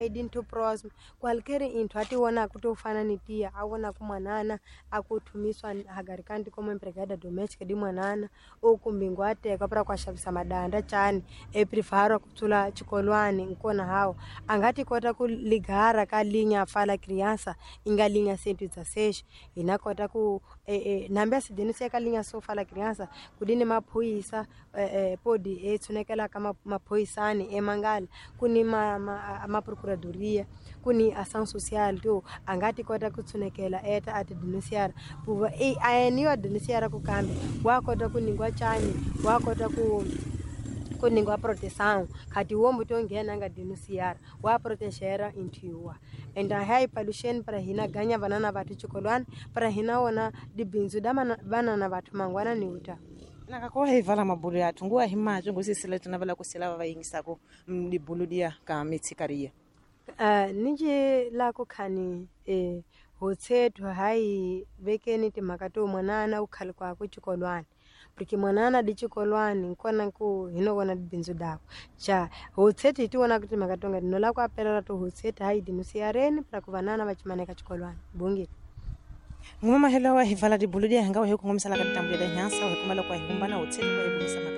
Into próximo qualquer into ati wona kuti ufana ni tia awona ku mwanana akuthumiswa hagarikandi como empregada doméstica di mwanana ukumbingu ateka para kuaxavisa madanda chani eprefaro kutsula chikolwani nkona hawo angati kota ku ligara ka linha fala criança inga linha 116 ina kota ku nambe asidenisia ka linha so fala criança kudini maphoyisa podi etshunekela ka maphoyisani emangala kuni ma procuradoria kuni ação social to angati kota ku tshunekela eta ati denunciar puva e aeniwa denunciar ku kambe wa kota ku ningwa chani wa kota ku kuningwa proteção khati wo mutu onghena anga denunciar wa protegera inthiwa and hai paluxeni para hina ganya vanana vathu chikolwani para hina wona dibindzu da vanana vathu mangwana ni uta Nakakoha hivala mabulu yathu nguwa himacho ngusisila tunavela kusila va yingisako dibulu diya ka mitshikariya. Ninji la ku khani hotshethu hayi vekeni timhaka to mwanana u khale kwaku chikolwani porque mwanana di chikolwani nkona ku hino vona bindzu dako cha hotshethu hi ti vona ku timhaka tonga dinola ku apelela to hotshethu hayi dinusiareni para ku vanana va chimaneka chikolwani bungile. Nguma mahelo wa hivala dibulu diya hinga wa hi kungumisela ka ditambu leta nyansa wa hi kumela kwa hi humbana hotshethu wa hi kumisa mhaka.